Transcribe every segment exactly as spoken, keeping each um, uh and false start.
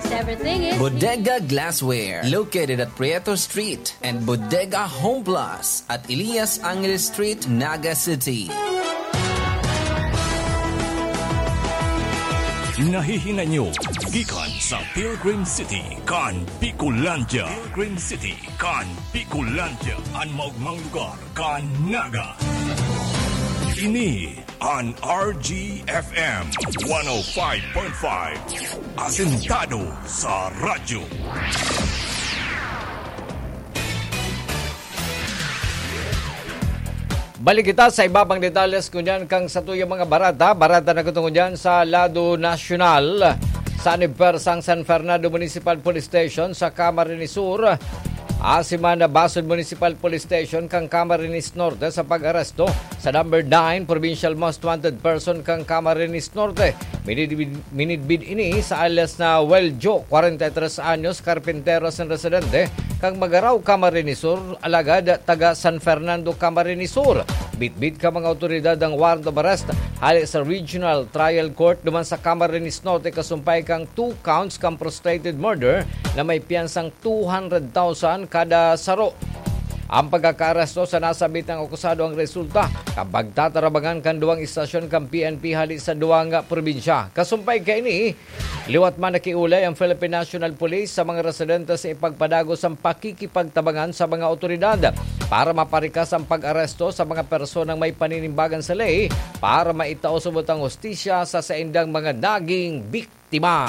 Everything is Bodega Glassware, located at Prieto Street, and Bodega Home Plus at Elias Angeles Street, Naga City. Nahihinay nyo gikan sa Pilgrim City kan Bicolandia. Pilgrim City kan Bicolandia, an maogmang lugar kan Naga. Ini an R G F M one oh five point five, asentado sa radyo. Balik kita sa iba pang detalles ngunyan kan satuyang mga bareta. Bareta na kutob ngunyan sa lado nasyonal. Sa anibersang San Fernando Municipal Police Station sa Camarines Sur, asin man Basud Municipal Police Station kan Camarines Norte sa pag-aresto sa number nine Provincial Most Wanted Person kan Camarines Norte. Minidbid, minidbid ini sa alias na Weljo, kwarenta y tres anyos, karpintero asin residente kan Magarao, Camarines Sur, alagad taga San Fernando, Camarines Sur. Bitbit kan mga awtoridad ang warrant of arrest hale sa Regional Trial Court duman sa Camarines Norte, kasumpay kan two counts kan prostrated murder na may piyansang two hundred thousand kada saro. Ang pagkakaaresto sa nasambit na akusado ang resulta kan pagtatarabangan kan duwang istasyon kan P N P hale sa duwang probinsya. Kasumpay kaini, liwat man nakiolay ang Philippine National Police sa mga residente sa ipagpadagos ang pakikipagtabangan sa mga awtoridad para maparikas ang pag-aresto sa mga personang may paninimbagan sa ley para maitao subot ang hustisya sa saindang mga naging biktima.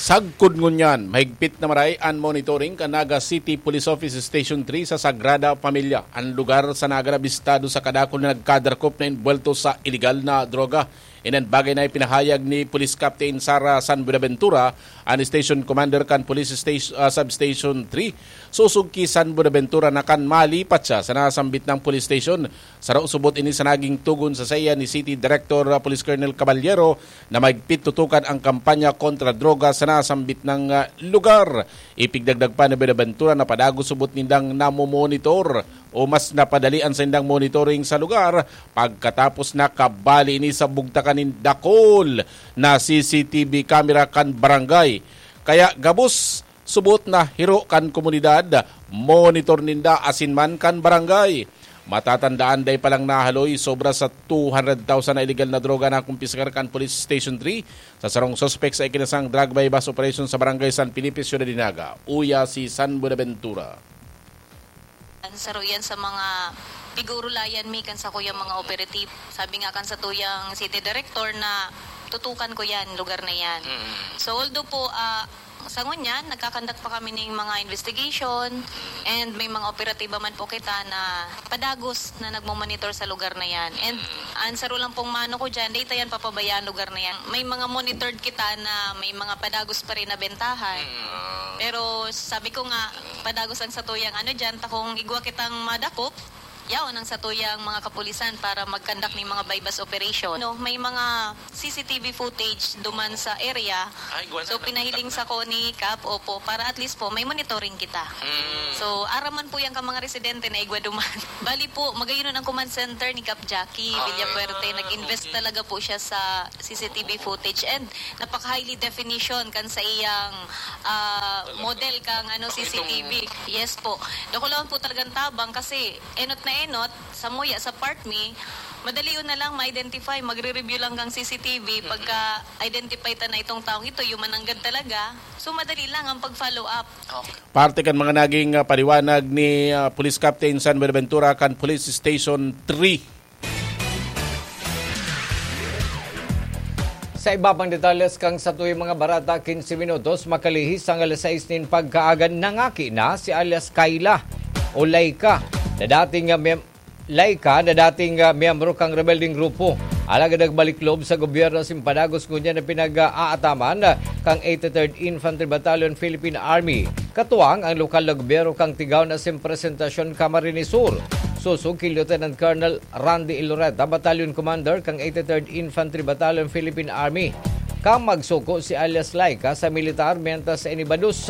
Sagkod ngunyan, mahigpit na maray an monitoring kan Naga City Police Office Station three sa Sagrada Familia, an lugar sa Naga na bistado sa kadakul na nagkadakop na enbuwelto sa iligal na droga. Ini an bagay na ipinahayag ni Police Captain Sara San Buenaventura, an Station Commander kan Police Station, ah, Substation three, sosog ki San Buenaventura, na kan malipat siya sa nasambit na police station. Saro subot ini sa naging togon sa saiya ni City Director, ah, Police Colonel Caballero, na mahigpit tutukan ang kampanya kontra droga sa nasambit na, ah, lugar. Ipigdagdag pa ni Buenaventura na padagos subot nindang namomonitor o mas napadali an saindang monitoring sa lugar pagkatapos na kabali ini sa bugtakan nin dakul na C C T V camera kan barangay. Kaya gabos subot na hiro kan komunidad, monitor ninda asin man kan barangay. Matatandaan, dai pa lang nahaloy sobra sa two hundred thousand na iligal na droga na kumpiskar kan Police Station three sa sarong suspek sa ikinasang drug buy-bust operation sa Barangay San Felipe, Ciudad de Naga. Uya si San Buenaventura. Saro yan sa mga pigurulayan mi kan sakuyang mga operative. Sabi nga kan satuyang city director na tutukan ko yan, lugar na yan. Mm. So although po, ah, sa ngunyan, nagkakandak pa kami ning mga investigation and may mga operatiba man po kita na padagos na nagmomonitor sa lugar na yan. And ang saro lang pong mano ko dyan, data yan papabayaan lugar na yan. May mga monitored kita na may mga padagos pa rin na bentahan. Mm. Pero sabi ko nga, padagos ang satuyang ano dyan, takong igwa kitang madakop, yaon ang satuyang mga kapulisan para magkandak ning mga buy-bust operation. No, may mga C C T V footage duman sa area. Ay, igwa na So, lang pinahiling kita. Sa ko ni Kap, opo, para at least po may monitoring kita. Mm. So, araman po yan ka mga residente na igwa duman. Bali po, magayon ang command center ni Kap Jackie Ah, Villafuerte. Nag-invest okay. Talaga po siya sa C C T V footage and napaka-highly definition kan sa iyang, ah, Talaga. Model kang ano, Itong C C T V. Yes po. Dakulaon po talagang tabang kasi enot na enot, samuya sa part mi, madali yun na lang ma-identify, magre-review lang kang C C T V, Mm-mm. Pagka-identify ta na itong taong ito, human nanggad talaga, so madali lang ang pag-follow up. Okay. Parte kan mga naging, ah, paliwanag ni, ah, Police Captain San Buenaventura kan Police Station three. Sa iba pang detalles kan satuyang mga bareta, quince minutos makalihis ang alas sais nin pagkaaga, nangaki na si alias Kayla o Laika na dating, ah, mem-, Laika na dating, ah, miyembro kan rebeldeng grupo. Alagad nagbalik loob sa gobyerno asin padagos ngunyan na pinag-aataman, ah, kan eighty-third Infantry Battalion Philippine Army. Katuwang ang lokal na gobyerno kan Tigaon asin Presentacion, Camarines Sur. Sosog ki Lieutenant Colonel Randy Iloreta, Battalion Commander kan eighty-third Infantry Battalion Philippine Army, kan magsuko si alias Laika sa militar mientras sa inibados.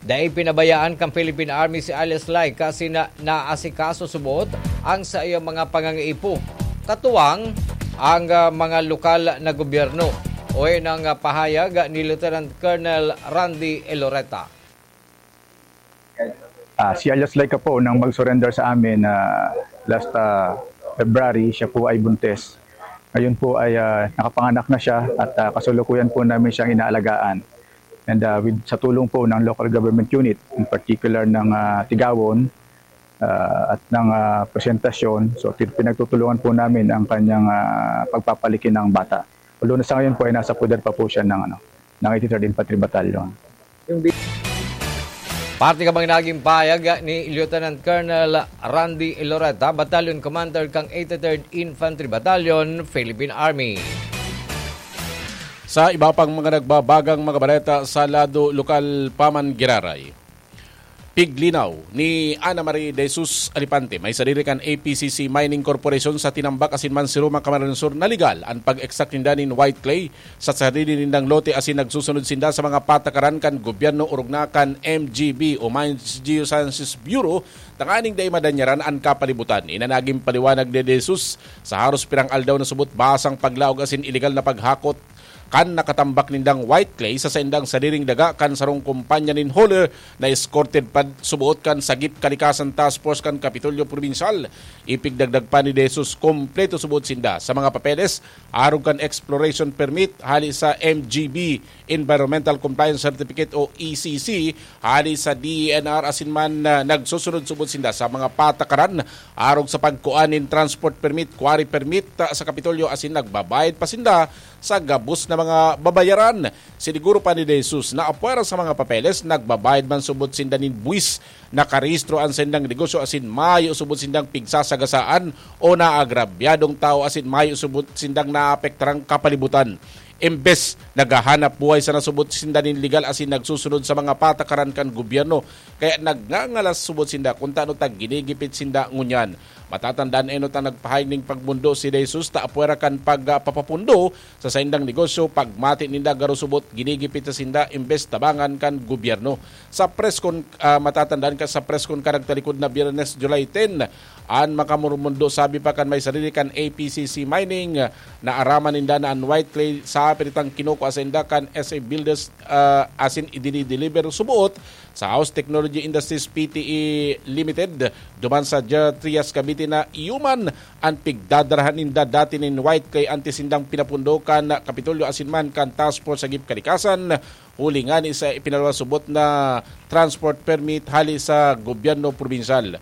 Dai pinabayaan kan Philippine Army si alias Laika asin naasikaso subot ang saiyang mga pangangaipo, katuwang ang, ah, mga lokal na gobyerno. Uwi ng pahayag ni Lieutenant Colonel Randy Eloreta. Ah, si alias Laika po nang mag-surrender sa amin na last ah, February, siya po ay buntis. Ngayon po ay ah, nakapanganak na siya at ah, kasalukuyan po namin siyang inaalagaan. And ah, with, sa tulong po ng local government unit, in particular ng ah, Tigawon ah, at ng ah, presentasyon, so ti- pinagtutulungan po namin ang kanyang ah, pagpapalaki ng bata. Although na sa ngayon po ay nasa poder pa po siya ng, ano, ng eighty-third Infantry Battalion. Parte ka bang naging pahayag ni Lieutenant Colonel Randy Loretta, Battalion Commander kang eighty-third Infantry Battalion, Philippine Army. Sa iba pang mga nagbabagang mga bareta sa lado lokal pa man giraray. Piglinaw ni Ana Marie De Jesus Alipante, may sadiri kan A P C C Mining Corporation sa Tinambac asin Mansiroma, Camarines Sur, na legal an pag-extract ninda nin white clay sa sarili nindang lote asin nagsusunod sinda sa mga patakaran kan gobyerno orog na kan M G B o Mines Geosciences Bureau tanganing dai madanyaran an kapalibutan. Ina naging paliwanag ni De Jesus sa haros pirang aldaw na subot basang paglaog asin ilegal na paghakot kan nakatambak nindang white clay sa saindang sadiring daga kan sarong kumpanya nin hauler na escorted pa suboot kan Sagip Kalikasan Task Force kan Kapitolyo Probinsyal. Ipigdagdag pa ni De Jesus, kompleto suboot sinda sa mga papeles arog kan exploration permit hali sa M G B Environmental Compliance Certificate o E C C, hali sa D E N R asin man ah, nagsusunod suboot sinda sa mga patakaran arog sa pagkuan nin transport permit, quarry permit ah, sa Kapitolyo asin nagbabayad pa sinda sa gabos na mga babayaran. Siniguro pa ni De Jesus na apwera sa mga papeles, nagbabayad man subot sinda nin buwis, nakarehistro an saindang negosyo asin mayo subot sindang pigsasagasaan o naagrabyadong tawo asin mayo subot sindang naapektarang kapalibutan. Imbes naghahanap buhay sana subot sinda nin legal asin nagsusunod sa mga patakaran kan gobyerno, kaya nagngangalas subot sinda kun tano ta ginigipit sinda ngunyan. Matatandaan enot ang nagpahayag ning pagmundo si De Jesus ta apwera kan pagpapapundo sa saindang negosyo, pagmati ninda garo subot ginigipit sa sinda imbes tabangan kan gobyerno. Sa press con, ah, matatandaan ka sa press con karagtalikod na Biyernes, July ten, an makamurmundo sabi pa kan may sarili kan A P C C Mining, ah, naaraman ninda na an white clay sa piritang kinukua sa inda kan S A Builders ah, asin idinideliver suboot sa House Technology Industries P T E Limited duman sa Ger Trias Cavite na iyo man an pigdadarahan ninda dati nin white clay antes sindang pinapundo kan Kapitolyo asin man kan Task Force sa Gip Kalikasan, huli ngani sa ipinaluwas subot na transport permit hali sa gobyerno probinsyal.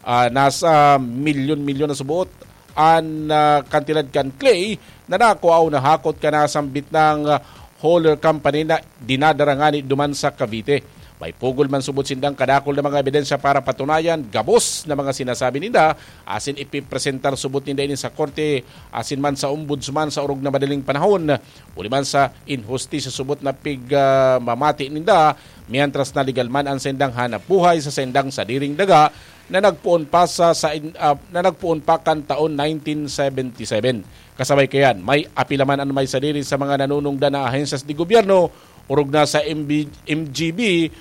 Ah, nasa milyon-milyon na suboot an ah, kantidad kan clay na nakua o nahakot kan nasambit nang ah, hauler company na dinadara ngani duman sa Cavite. May pugol man subot sindang kadakul na mga ebidensya para patunayan gabos na mga sinasabi ninda, asin ipipresentar subot ninda ini sa korte asin man sa ombudsman sa orog na madaling panahon. Huli man sa inhustisya subot na pig ah, mamati ninda, mientras na legal man an saindang hanap buhay sa saindang sadiring daga na nagpoon pa sa, sa in- ah, na nagpoon pa kan taon nineteen seventy-seven. Kasabay kayan, may apila man an may sadiri sa mga nanunungdan na ahensyas di gobyerno, orog na sa M B, M G B,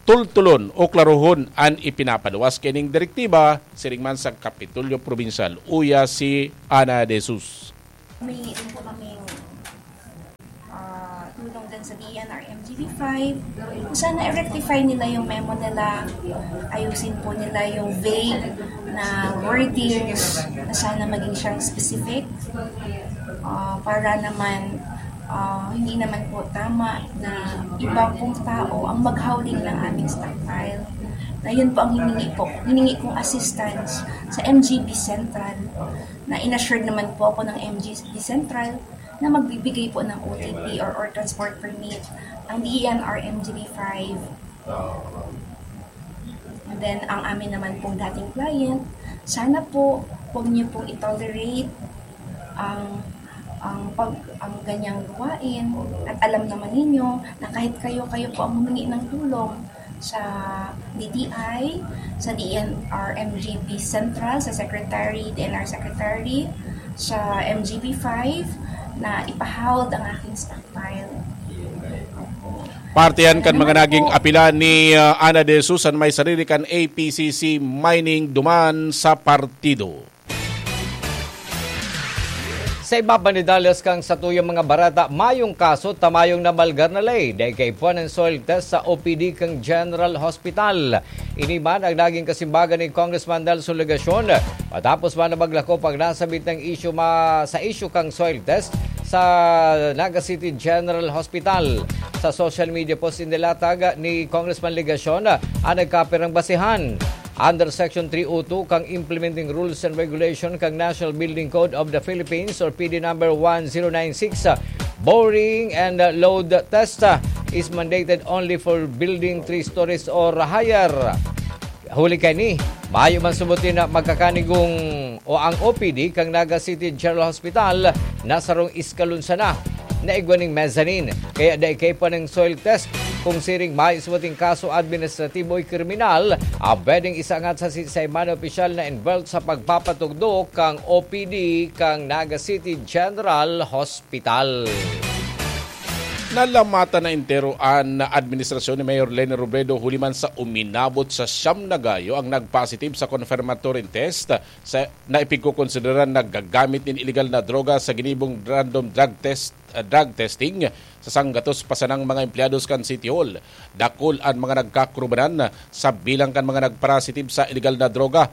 tultulon o klarohon an ipinapaluwas kining direktiba, siring man sa Kapitolyo Probinsyal, uya si Ana De Jesus. May ano po kaming ah, tulong din sa D E N R M G B five. Kung sana i-rectify nila yung memo nila, ayusin po nila yung vague na wordings na sana maging siyang specific. Ah, para naman ah, hindi naman po tama na iba pong tao ang maghawling ng aming stockpile. Na yun po ang hiningi po. Hiningi kong assistance sa M G B Central na inassured naman po ako ng M G B Central na magbibigay po ng O T P or, or transport permit ang D E N R M G B five. And then, ang amin naman pong dating client, sana po, huwag niyo pong i-tolerate ang ang pag ang ganyang gawain, at alam naman ninyo na kahit kayo kayo po ang humingi ng tulong sa D T I, sa D N R M G B Central, sa Secretary, D N R Secretary, sa M G B five, na ipahawd ang aking stockpile. Parte yan kan mga naging apila ni ah, Ana De Jesus an may sarili kan A P C C Mining duman sa partido. Sa iba pa ni Dallas, kan satuyang mga bareta, mayong kaso ta mayong namalgar na ley, dai kaipuhan an soil test sa O P D kan General Hospital. Ini man ang naging kasimbagan ni Congressman Nelson Legacion matapos man na maglakop ang nasabit na isyu ma-, sa isyu kan soil test sa Naga City General Hospital. Sa social media post, inilatag ni Congressman Legacion ang nagkapirang basehan. Under Section three oh two kan Implementing Rules and Regulation kan National Building Code of the Philippines or P D number one zero nine six, boring and load test is mandated only for building three stories or higher. Huli kaini, mayo man subutin na magkakanigong o ang O P D kan Naga City General Hospital na sarong eskalon sana na igwa ning mezzanine. Kaya dai kaipuhan ning soil test kung siring may subuting kaso administratibo o kriminal, ang pwedeng isangat sa si-, sa man opisyal na involved sa pagpapatugdok kang O P D kang Naga City General Hospital. Nalamatan na entero an administrasyon ni Mayor Leni Robredo huli man sa uminabot sa siyam na gayo ang nagpositive sa confirmatory test sa, na ipigkokonsideran naggagamit nin iligal na droga sa ginibong random drug test, ah, drug testing sa sanggatos pa sanang mga empleyados kan City Hall. Dakul an mga nagkakurubanan sa bilang kan mga nagpositive sa iligal na droga.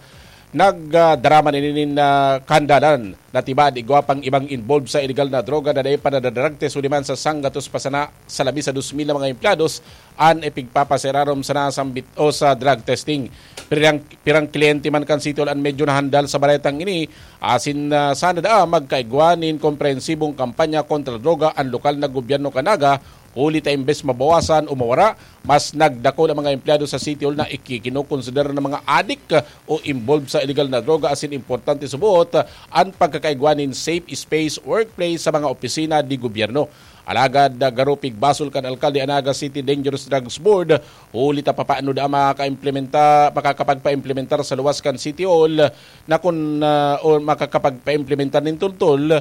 Nagdarama nini nin, ah, kahandalan na tibaad igwa pang ibang involved sa iligal na droga na dai pa nadadrug test huli man sa sanggatos pa sana sa labi sa dos mil na mga empleyados an ipigpapaserarom sana sambit o sa drug testing. Pirang, pirang kliyente man kan City Hall an medyo nahandal sa baretang ini, asin, ah, sana daa magkaigwa nin komprehensibong kampanya kontra droga an lokal na gobyerno kan Naga, huli ta imbes mabawasan o mawara, mas nagdakul ang mga empleyado sa City Hall na iki-, kinokonsidera na mga adik o involved sa iligal na droga, asin importante subot an pagkakaigwa nin safe space workplace sa mga opisina di gobyerno. Alagad, ah, garo pigbasol kan alkalde an Naga City Dangerous Drugs Board, huli ta papaano daa makakaimplementa-, makakapagpaimplementar sa luwas kan City Hall na kun, ah, o makakapagpaimplementar nin tultol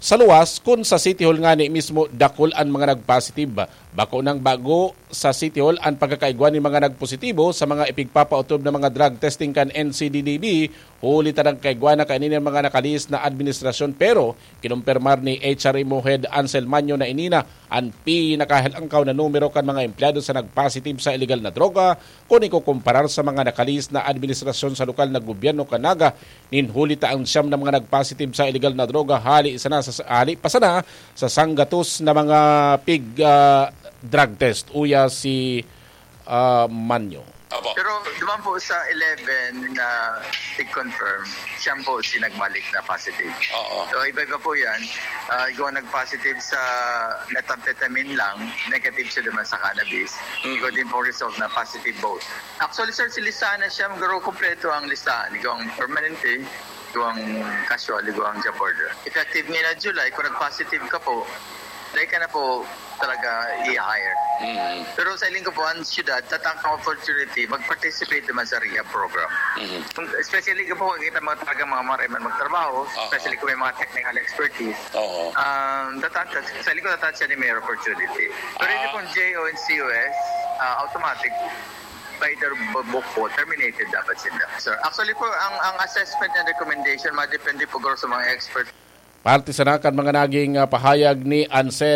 sa luwas kun sa City Hall ngani mismo dakul an mga nagpositive. Bako nang bago sa City Hall an pagkakaigwa nin mga nagpositibo sa mga ipigpapaotob na mga drug testing kan N C D D B, huli ta nagkaigwa na kaini nin mga nakalihis na administrasyon, pero kinumpirmar ni H R M O Head Ansel Manyo na ini na an pinakahalangkaw na numero kan mga empleyado sa nagpositive sa iligal na droga kun ikukumparar sa mga nakalihis na administrasyon sa lokal na gobyerno kan Naga. Nin huli ta ang siyam na mga nagpositive sa iligal na droga hali sana sa, hali pa sana sa sanggatos na mga pig, ah, drug test. Uya si, ah, Manyo. Opo. Pero duman po sa eleven na i-confirm, siyam po si nagbalik na positive. Oo. So, iba-iba po yan. Ah, igwa nag-positive sa methamphetamine lang, negative siya duman sa cannabis. Mm. Igwa din po result na positive both. Actually, sir, si listahan na siya, garo kompleto ang listahan. Igwa ang permanente, igwa ang casual, igwa ang job order. Effective ngayon na July, kung nag-positive ka po, dai ka na po talaga i-hire. Mm. Pero sa iling ko po, ang syudad, tatangkang opportunity, mag-participate naman sa rehab program. Mm. Kung, especially ko po, kung kita mga talaga mga maray man magtrabaho, Aha. especially kung may mga technical expertise, Oo. um, tatangkang, sa iling ko, tatangkang siya ni Mayor Opportunity. Pero hindi Ah. pong J O and C O S, ah, automatic, by the bu-, book po, terminated dapat sila. Sir, actually po, ang, ang assessment and recommendation, madepende po garo sa mga expert. Parte sana kan mga naging, ah, pahayag ni Ansel